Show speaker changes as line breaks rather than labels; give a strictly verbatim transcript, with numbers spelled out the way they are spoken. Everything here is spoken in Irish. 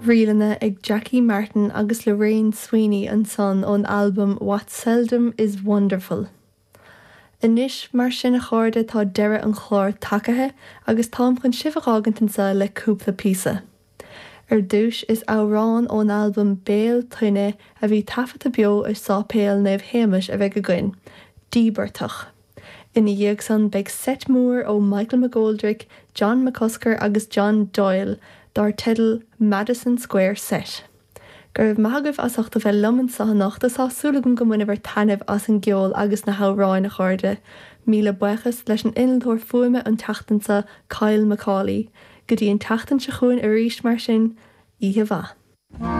Ríleanna ag Jackie Martin agus Lorraine Sweeney ansan ón albam What Seldom is Wonderful. Anois mar sin a chairde tá deireadh an chláir tagaithe agus táim chun sibh a fhágaint anseo le cúpla píosa. Ar dtús is amhrán ón albam Béal Tuinne a bhí taifeadta beo i Sáipéal Naomh Shéamais a bheidh againn, Díbeartach. Ina dhiaidh san beidh seit mór ó Michael McGoldrick, John McCusker agus John Doyle dar teideal Madison Square Set. Go raibh maith agaibh as ucht a bheith liom anseo anocht tá súil agam gur bhain sibh taitneamh as an gceol agus na hamhráin a chairde. Míle buíochas leis an innealtóir fuaime an tseachtain seo Kyle Macaulay, go dtí an tseachtain seo chugainn arís mar sin, oíche mhaith.